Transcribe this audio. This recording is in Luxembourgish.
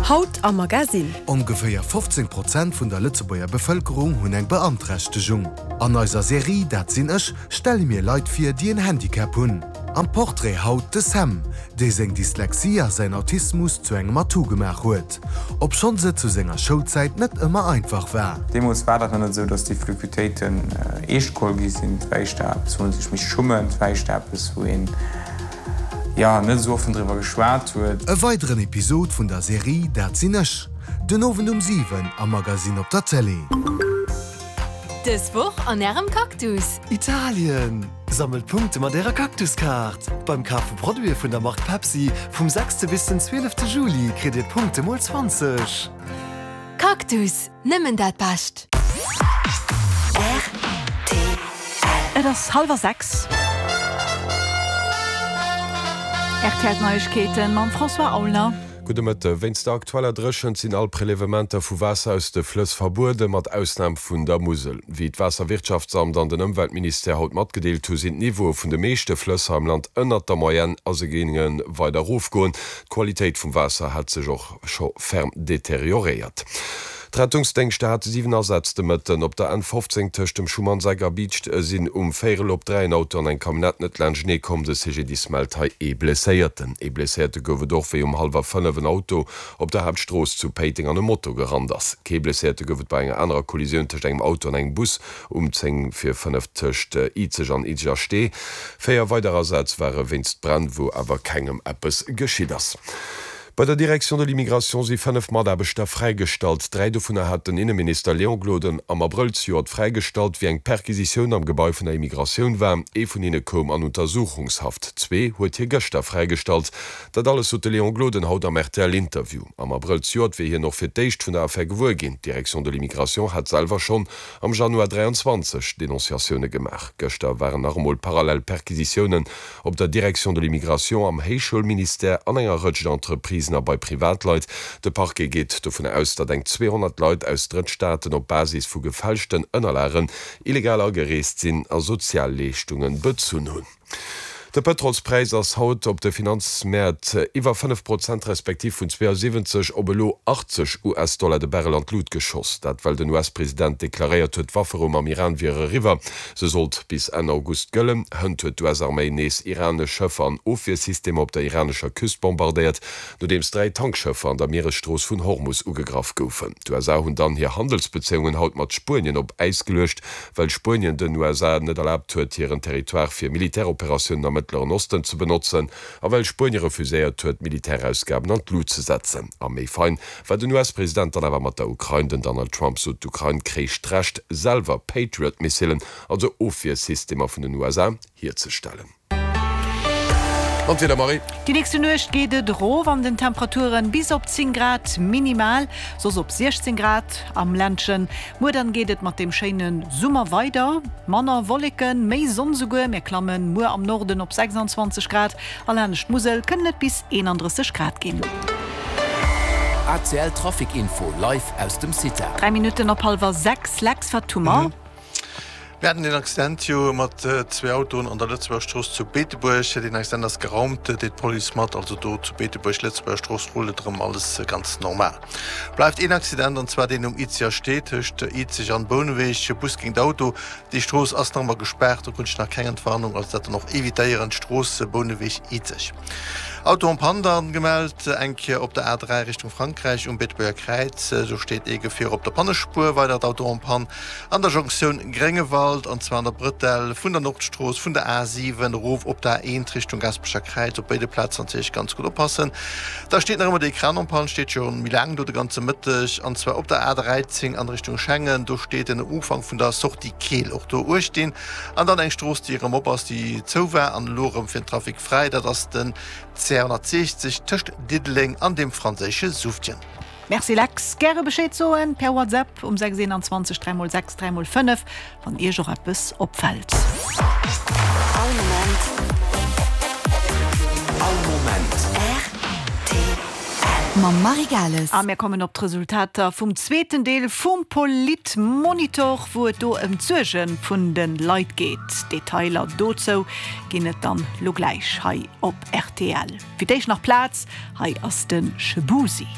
Haut am Magasinn. Ongeféier 15 Prozent vun der Lëtzebuerger Bevëlkerung hunn eng Beanträchtegung. An eiser Serie Dat sinn ech stelle mir Leit vir, déi en Handicap hunn. Am Portrait haut de Sam, dee seng Dyslexie a säin Autismus zu engem Atout gemaach huet, obschonns et zu senger Schoulzäit net ëmmer einfach war. Deemools war dat nach net esou, datt déi Flükutéiten eescht geholl gi sinn. Et war éischter eppes, wou ee sech misst schummen. Et war éischter eppes, wou een, jo, net esou offen driwwer geschwat huet. E weideren Episod vun der Serie Dat sinn ech, den Owend um 7 am Magasinn op der Télé. Dës Woch an Ärem Cactus! Italien! Sammelt Punkte mat Ärer Cactus-Kaart! Beim Kaf vu Produite vun der Mark Pepsi vum sechste bis den zwielefte Juli kritt Dir d'Punkte mol 20. Cactus, nëmmen dat Bescht! Rtl. Et ass hallwer 6. RTL Neiegkeeten mam François Aulner. Gudde Mëtte. Wéinst der aktueller Dréchent sinn all Prelevementer vu Waasser aus de Flëss verbueden, mat Ausnam vun der Musel. Wéi d'Waasserwirtschaftsamt an den Ëmweltministère haut matgedeelt hu sinn d'Niveaue vun de meeschte Flëss hei am Land ënnert der Moyenne a se géinge weider erofgoen. D'Qualitéit vum Waasser hätt sech och scho ferm deterioréiert. D'Rettungsdéngschter hate 7 Asätz de Mëtten. Op der N 15 tëscht dem Schumannseck a Biicht sinn um Véierel op 3 en Auto an eng Camionnette net laanschtenee komm. De CGDIS mellt hei ee Blesséierten. Ee Blesséierte gouf et och, wéi um hallwer 5 en Auto op der Haaptstrooss zu Péiteng an e Moto gerannt ass. Kee Blesséierte gouf et bei enger anerer Kollisioun tëscht engem Auto an engem Bus um 10 vir 5 tëscht Izeg an Izeger Stee. 4 weider Asätz ware wéinst Bränn, wou awer kengem eppes geschitt ass. Bei der Direction de l'immigration si 5 Mataarbechter fräigestallt. 3 dovunner hat den Inneminister Léon Gloden am Abrëll zejoert fräigestallt, wéi eng Perquisitioun am Gebai vun der Immigratioun war. Ee vun hinne koum an Untersuchungshaft. Zwee huet hie gëschter fräigestallt. Dat alles sot de Léon Gloden haut am RTL-Interview. Am Abrëll zejoert wier hien och fir d'éischt vun der Affär gewuer ginn. D'Direction de l'immigration hat selwer schonn am Januar 23 Denonciatioune gemaach. Gëschter waren nach emol parallel Perquisitiounen Op der Direction de l'immigration, am Héichschoulministère, an enger Rëtsch Entreprisen a bei Privatleit. De Parquet geet dovun aus, datt eng 200 Leit aus Drëttstaaten op Basis vu gefälschten Ënnerlagen illegal agereest sinn a Sozialleeschtunge bezunn hunn. De Pëtrolspräis ass haut op de Finanzmäert iwwer 5 Prozent respektiv vun 72 op elo 80 US-Dollar de Barrel an d'Lut geschoss. Dat well den US-President deklaréiert huet, d'Wafferou mam Iran wier eriwwer. Se sollt bis Enn August gëllen. Hënt huet d'US-Arméi nees iranesch Schëffer an Ofwiersystemer op der iranescher Küst bombardéiert, nodeems 3 Tankschëffer an der Mieresstrooss vun Hormus ugegraff goufen. D'USA hunn dann hir Handelsbezéiungen haut mat Spuenien op Äis geluecht, well Spuenien den USA net erlaabt huet, hiren Territoire fir Militäroperatiounen am Mëttleren Osten ze benotzen a well Spuenie refuséiert huet, d'Militärausgaben an d'Lut ze setzen. A méi fein war den US-President dann awer mat der Ukrain. Den Donald Trump sot, d'Ukrain kréich d'Recht, selwer Patriot-Missilen, also Ofwiersystemer vun den USA, hierzestellen. An d'Wieder, Marie? Déi nächste Nuecht geet et erof an den Temperaturen, bis op 10 Grad minimal, soss op 16 Grad am Ländchen. Muer dann geet et mat deem schéine Summer weider, manner Wolleken, méi Sonn souguer. Mir klammen muer am Norden op 26 Grad A laanscht d'Musel kënnen et bis 31 Grad ginn. ACL Trafic Info live aus dem CITA. 3 Minutten op hallwer 6, Lex, wat hu mer? Mir haten een Accident jo mat zwee Autoen an der Lëtzebuerger Strooss zu Beetebuerg. Deen Accident ass geraumt, deet d'Police mat. Also do zu Beetebuerg, Lëtzebuerger Strooss, rullt et erëm alles ganz normal. Bleift een Accident, an zwar deen um Izeger Stee tëscht Izeg an Bouneweg, Bus géint Auto. Déi Strooss ass nach ëmmer gespaart, do krut ech nach keng Entwarnung, also dat dann och evitéieren, d'Strooss Bouneweg-Izeg. Auto en panne dann gemellt, eng Kéier op der A3 Richtung Frankräich um Beetebuerger Kräiz, do steet ee Gefier op der Pannespuer. Weidert Auto en panne an der Jonktioun Gréngewald, an zwar an der Brëtell vun der Nordstrooss vun der A7 erof op der A1 Richtung Gaasperecher Kräiz, op béide Plazen natierlech ganz gutt oppassen. Da steet nach ëmmer dee Kran en panne, steet scho méi laang do de ganze Mëtteg, an zwar op der A13 an Richtung Schengen, do steet en um Ufank vun der Sortie Keel, och do uecht dinn. An dann eng Strooss, déi erëm op ass, déi zou war an elo erëm fir den Trafic fräi, dat ass den CR 160 tëscht Diddeleng an dem franséische Suftjen. Merci Lex, gäre Bescheed soen per WhatsApp um 6 21 3 x 6 3 x 5 wann Iech och eppes opfällt. All Moment All Moment Rtl. Mam Marie Gales. A mir kommen op d'Resultater vum zweeten Deel vum Politmonitor, wou et do ëm d'Suerge vun de Leit geet. Detailer dozou ginn et dann lo gläich hei op rtl. Fir d'éischt nach Plaz, hei ass de Shubusi.